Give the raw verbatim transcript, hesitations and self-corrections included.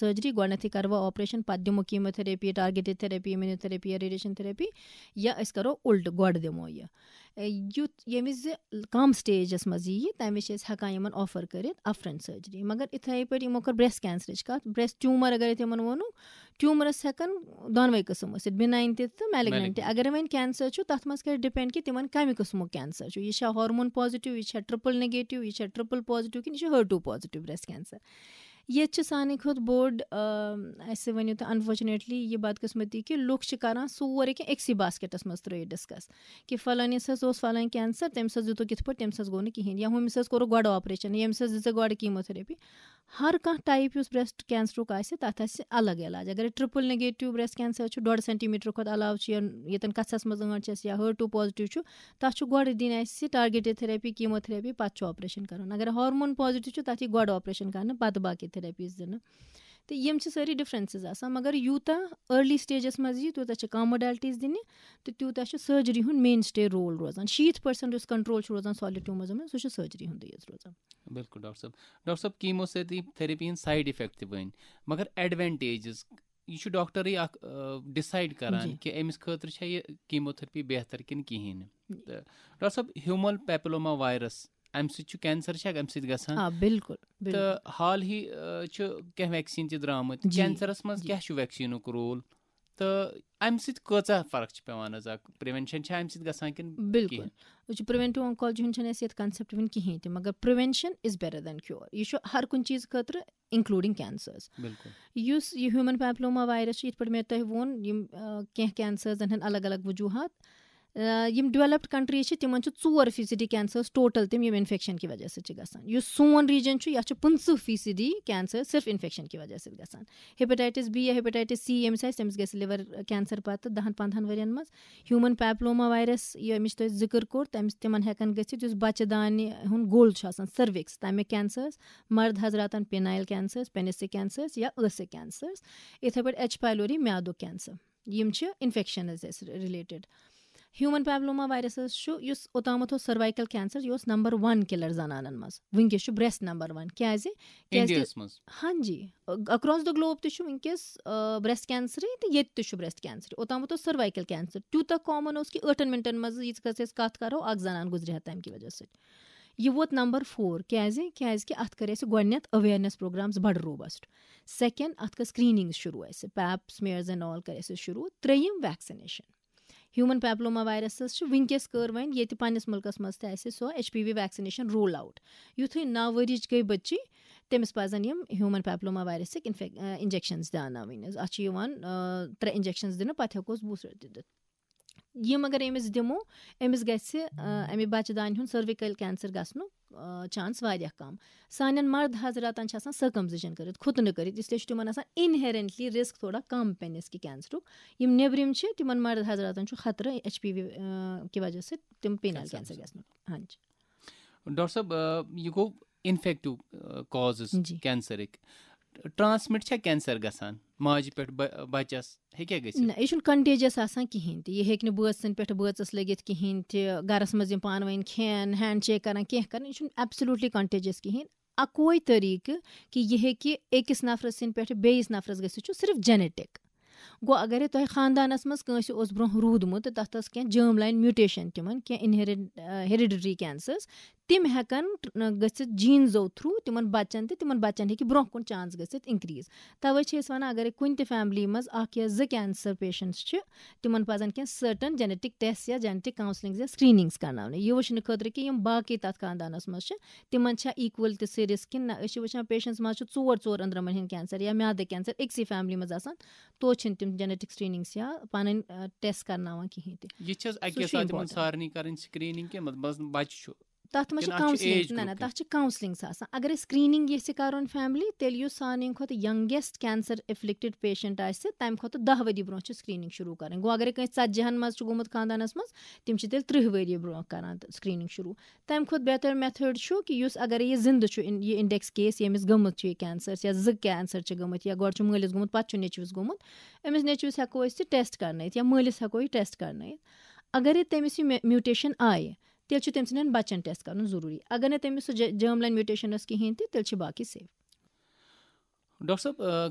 Surgery, گۄڈٕنیتھٕے کرٕ بہٕ آپریشن، پتہٕ دِمو کیموتھراپی، ٹارگیٹڈ تھراپی، امیونوتھراپی یا ریڈیشن تھراپی، یا أسۍ کرو الٹہٕ، گۄڈٕ دِمو یہِ۔ اے، یُتھ ییٚمہِ وِزِ کم سٹیجس منٛز یِیہِ، تمہِ وِزِ چھِ أسۍ ہٮ۪کان یِمن آفر کٔرِتھ اپفرنٹ سرجری۔ مگر اِتھے پٲٹھۍ یِمو کٔر برٛیسٹ کینسرٕچ کتھ، برٛیسٹ ٹیومر اگر أسۍ یِمن ووٚنُک، ٹیومرس ہٮ۪کن دۄنوے قٕسم ٲسِتھ، بِناین تہِ تہٕ میلگننٹ تہِ۔ Malignant۔ اگر وۄنۍ کینسر چھُ، تتھ منٛز کرِ ڈپینڈ کہِ تِمن کمہِ قٕسمُک کینسر چھُ، یہِ چھا ہارمون پازیٹیو، یہِ چھا ٹرپل نیگیٹیو، یہِ چھا ٹرپل پازیٹیو کِنہٕ یہِ چھُ ہر ٹو پازیٹیو برٛیسٹ کینسر۔ ییٚتہِ چھِ سانہِ کھۄتہٕ بوٚڑ، آ، اَسہِ ؤنِو تُہۍ، انفارچُنیٹلی یہِ بدقٕسمتی کہِ لُکھ چھِ کران سورُے کینٛہہ أکسٕے باسکیٹس منٛز ترٲوِتھ ڈسکس کہِ فلٲنِس حظ اوس فلٲنۍ کینسر، تٔمِس حظ دیُتُکھ یِتھ پٲٹھۍ، تٔمِس حظ گوٚو نہٕ کِہینۍ، یا ہُمِس حظ کوٚرُکھ گۄڈٕ آپریشن، ییٚمِس حظ دِژ گۄڈٕ کیموتھراپی۔ ہر کانٛہہ ٹایپ یُس برٛیسٹ کینسرُک آسہِ، تتھ آسہِ الگ علاج۔ اگر ٹرپل نیگیٹیو برٛیسٹ کینسر چھُ، ڈۄڈ سینٹی میٹر کھۄتہٕ علاوٕ چھُ یا ییٚتٮ۪ن کَژھَس منٛز ٲنٛٹ چھَس یا ہر ٹو پازیٹیو چھُ، تَتھ چھُ گۄڈٕ دِنۍ اَسہِ ٹارگیٹڈ تھراپی، کیموتھراپی، پَتہٕ چھُ آپریشن کَرُن۔ اگر ہارمون پازیٹیو چھُ، تَتھ یی گۄڈٕ آپریشن کَرنہٕ، پَتہٕ باقٕے تھراپیٖز دِنہٕ۔ تہٕ یِم چھِ سٲری ڈِفرَنسٕز آسان، مگر یوٗتاہ ارلی سٹیجَس منٛز یی، تیوٗتاہ چھِ کَم موڈیلٹیٖز دِنہِ تہٕ تیوٗتاہ چھُ سرجری ہُنٛد مین سٹے رول روزان۔ شیٖتھ پٔرسنٹ یُس کنٹرول چھُ روزان سالِڈ ٹیوٗمرزَن منٛز، سُہ چھُ سرجری ہُنٛدُے یوت روزان۔ بِلکُل ڈاکٹر صٲب۔ ڈاکٹر صٲب، کیمو تھراپی ہٕنٛدۍ سایڈ افیکٹ تہِ ؤنۍ، مگر ایڈوانٹیجز، یہِ چھُ ڈاکٹرٕے اکھ، آ، ڈِسایڈ کران جی۔ کہِ أمِس خٲطرٕ چھا یہِ کیموتھراپی بہتر کِنہٕ کِہیٖنۍ نہٕ۔ جی۔ تہٕ ڈاکٹر صٲب، ہیوٗمن پیپلوما وایرس، اَمہِ سۭتۍ چھُ کینسر چھا اَمہِ سۭتۍ گژھان؟ آ، بِلکُل، بِلکُل۔ تہٕ حال ہی، آ، چھُ کینٛہہ ویکسیٖن تہِ درٛامٕتۍ۔ جی، کینسرس منٛز جی۔ کیٛاہ چھُ ویکسیٖنُک رول؟ تہٕ اَمہِ سۭتۍ کۭژاہ فرق چھِ پٮ۪وان حظ؟ اَکھ پرٛیوینشن چھا اَمہِ سۭتۍ گژھان کِنہٕ بِلکُل۔ کِہیٖنۍ؟ وٕچھ، پرٛیوینٹِو آنکالجی ہُنٛد چھُنہٕ اَسہِ ییٚتہِ کانسیپٹ وٕنہِ کِہیٖنۍ تہِ، مگر prevention is better than cure۔ یہِ چھُ ہر کُنہِ چیٖز خٲطرٕ، including cancers۔ بِلکُل۔ یُس یہِ ہیوٗمن پیپلوما وایرس چھُ، یِتھ پٲٹھۍ مےٚ تۄہہِ ووٚن، یِم، آ، کینٛہہ کینسرزن ہٕنٛدۍ الگ الگ وجوٗہات۔ آ، یِم ڈیولپڈ کنٹریٖز چھِ، تِمن چھِ ژور فیٖصدی کینسرز ٹوٹل تِم، یِم انفیکشن کہِ وجہ سۭتۍ چھِ گژھان۔ یُس سون ریجن چھُ، یَتھ چھُ پٕنٛژٕہ فیٖصدی کینسر صرف انفیکشن کہِ وجہ سۭتۍ گژھان۔ ہیپیٹائٹس بی یا ہیپیٹائٹس سی ییٚمِس آسہِ، تٔمِس گژھِ لِور کینسر پتہٕ دَہَن پنٛدہَن ؤرین منٛز۔ ہیوٗمن پیپلوما وایرس، ییٚمِچ تۄہہِ ذِکر کوٚر، تَمہِ، تِمن ہٮ۪کن گٔژھِتھ یُس بچہٕ دانہِ ہُنٛد گوٚل چھُ آسان، سروکس، تَمِکۍ کینسرز، مرد حضراتن پینائل کینسرز، پینسک کینسرز یا ٲسٕکۍ کینسرز، یِتھے پٲٹھۍ ایچ پایلوری، میادُک کینسر۔ یِم چھِ انفیکشنز اَسہِ رِلیٹڈ۔ ہیوٗمن پیپلوما وایرس حظ چھُ، یُس اوٚتامَتھ اوس سروائیکل کینسر، یہِ اوس نمبر ون کِلر زنانن منٛز، وٕنکیٚس چھُ برٛیسٹ نمبر ون۔ کیازِ؟ کیازِ کہِ انڈیاہس منٛز۔ ہاں جی، اکراس دا گلوب تہِ چھُ وٕنکیٚس، آ، برٛیسٹ کینسرٕے تہٕ ییٚتہِ تہِ چھُ برٛیسٹ کینسرٕے۔ اوٚتامَتھ اوس سروائیکل کینسر تیوٗتاہ کامن اوس کہِ ٲٹھن منٹن منٛز ییٖژ کٲژ أسۍ کتھ کرو، اکھ زنان گُزرِ ہا تمہِ کہِ وجہ سۭتۍ۔ یہِ ووت نمبر فور۔ کیازِ؟ کیازِ کہِ اتھ کٔرۍ اَسہِ گۄڈٕنیتھ اویرنیس پروگرامز بڑٕ روبسٹ۔ سیکنڈ، اتھ کٔر سکریننگ شروع اَسہِ، پیپ سمیئرز اینڈ آل کٔرۍ اَسہِ شروع۔ ترٛیٚیِم، ویکسِنیشن۔ ہیوٗمن پیپلوما وایرسس چھِ وٕنکیٚس کٔر وۄنۍ ییٚتہِ پننِس مُلکس منٛز تہِ اَسہِ سۄ H P V vaccination roll out. یُتھُے نَو ؤرِش گٔے بٔچی، تٔمِس پزن یِم ہیوٗمن پیپلوما وایرسٕکۍ انفیک-، آ، انجیکشنز دیاوناوٕنۍ حظ۔ اتھ چھِ یِوان، آ، ترٛےٚ انجیکشنز دِنہٕ، پتہٕ ہٮ۪کوس بوٗسٹر تہِ دِتھ۔ یِم اگر أمِس دِمو، أمِس گژھِ، آ، اَمہِ بچہٕ دانہِ ہُنٛد سرویکل کینسر گژھنُک، آ، چانس واریاہ کم۔ سانٮ۪ن مرد حضراتن چھِ آسان سرکمسیشن کٔرِتھ، خُتنہٕ کٔرِتھ، اس لیے چھُ تِمن آسان انہیرنٹلی رسک تھوڑا کم پننِس کہِ کینسرُک۔ یِم نیبرِم چھِ، تِمن مرد حضراتن چھُ خطرٕ ایچ پی وی، آ، کہِ وجہ سۭتۍ تِم پینل کینسر کینسر گژھنُک۔ ہاں جی۔ ڈاکٹر صٲب، آ، یہِ گوٚو انفیکٹو، آ، کازز جی۔ کینسرٕکۍ۔ ٹرانسمٹ چھا کینسر گژھان ماجہِ پٮ۪ٹھ بہ-، بچس؟ ہیٚکیٛاہ گٔژھِتھ؟ نہ، یہِ چھُنہٕ کنٹیجس آسان کِہینۍ تہِ۔ یہِ ہیٚکہِ نہٕ بٲژ سٕنٛدِ پٮ۪ٹھ بٲژس لٔگِتھ کِہینۍ تہِ۔ گرس منٛز یِم پانہٕ ؤنۍ کھٮ۪ن، ہینڈ شیک کران، کینٛہہ کران، یہِ چھُنہٕ ایبسلیوٹلی کنٹیجس کِہینۍ۔ اکوے طریقہٕ کہِ یہِ ہیٚکہِ أکِس نفرٕ سٕنٛدِ پٮ۪ٹھ بیٚیِس نفرس گٔژھِتھ چھُ صرف جینیٹک۔ گوٚو، اگرے تۄہہِ خاندانس منٛز کٲنٛسہِ اوس برونٛہہ روٗدمُت تہٕ تتھ ٲس کینٛہہ جرم لاین میوٹیشن تِمن، کینٛہہ انہیرڈ-، آ، ہیریڈیٹری کینسرز، تِم ہٮ۪کن ٹر-، گٔژھِتھ جینزو تھرو تِمن بچن تہِ، تِمن بچن ہیٚکہِ برونٛہہ کُن چانس گٔژھِتھ انکریز۔ توے چھِ أسۍ ونان، اگرے کُنہِ تہِ فیملی منٛز اکھ یا زٕ کینسر پیشنٹس چھِ، تِمن پزن کینٛہہ سرٹن جینیٹک ٹیسٹ یا جینیٹک کاؤنسلنگ یا سکریننگز کرناونہِ۔ یہِ وٕچھنہٕ خٲطرٕ کہِ یِم باقٕے تتھ خاندانس منٛز چھِ، تِمن چھا ایکول تہِ سُہ رسک کِنہٕ نہ۔ أسۍ چھِ وٕچھان پیشنٹس منٛز چھُ ژور ژور أنٛدرمن ہٕنٛدۍ کینسر یا میادٕ کینسر أکسٕے فیملی منٛز آسان، توتہِ چھِنہٕ تِم جینیٹک سکریننگز یا پنٕنۍ، آ، ٹیسٹ کرناوان کِہینۍ تہِ۔ یہِ چھِ حظ سُہ اَکے چھُ ساتہٕ یِمن important۔ سارنٕے کرٕنۍ سکریننگ کہِ مطلب بس بچہِ چھُ؟ تَتھ منٛز چھِ کِنہٕ اَتھ چھُ کاؤنسلنگ، age نہ، نہ، grouping؟ تَتھ چھِ کاؤنسلنگ آسان۔ اگر أسۍ سکریننگ یژھِ کرُن فیملی، تیٚلہِ یُس سانہِ کھۄتہٕ یَنگیسٹ کینسر افلکٹڈ پیشنٹ آسہِ، تَمہِ کھۄتہٕ دَہ ؤری برونٛہہ چھِ سکریننگ شروع کرٕنۍ۔ گوٚو، اگر کٲنٛسہِ ژتجی ہن منٛز چھُ گوٚمُت خاندانس منٛز، تِم چھِ تیٚلہِ ترٕٛہ ؤری برونٛہہ کران تہٕ سکریننگ شروع۔ تَمہِ کھۄتہٕ بہتر میتھڈ چھُ کہِ یُس اگر یہِ زِندٕ چھُ، اِن-، یہِ انڈیکس کیس ییٚمِس گٔمٕژ چھِ یہِ کینسر یا زٕ کینسر چھِ گٔمٕتۍ یا گۄڈٕ چھُ مٲلِس گوٚمُت، پتہٕ چھُ نیٚچوِس گوٚمُت، أمِس نیٚچوِس ہٮ۪کو أسۍ یہِ ٹیسٹ کرنٲیِتھ یا مٲلِس ہٮ۪کو یہِ ٹیسٹ کرنٲیِتھ۔ اگرے تٔمِس یہِ مے-، میوٹیشن آیہِ، تیٚلہِ چھُ تٔمۍ سٕنٛدٮ۪ن بچن ٹیسٹ کرُن ضروٗری۔ اگر نہٕ تٔمِس سُہ جے-، جرم لاین میوٹیشن ٲس کِہینۍ تہِ، تیٚلہِ چھِ باقٕے سیف۔ ڈاکٹر صٲب، آ،